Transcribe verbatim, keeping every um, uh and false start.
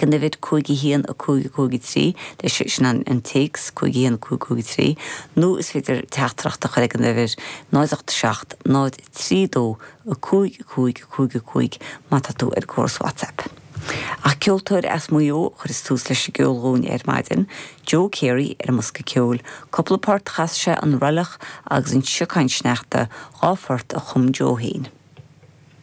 ag an uimhir cúig a haon a cúig a cúig a trí leis sin an, an téacs cúig a haon a cúig cúig a trí nó is féidir teachtaireacht a chur ag an uimhir náid ocht seacht náid trí dó a cúig a cúig a cúig a cúig má tá tú ar gcóras WhatsApp. Ach ceoltóir as Maigh Eo chuir tús leis an gceol dúinn ar maidin, Joe Carey ar an mbosca ceoil, cúpla port chas sé an Roilleach agus an Siocán Sneachta dhá phort a chum Joe féin.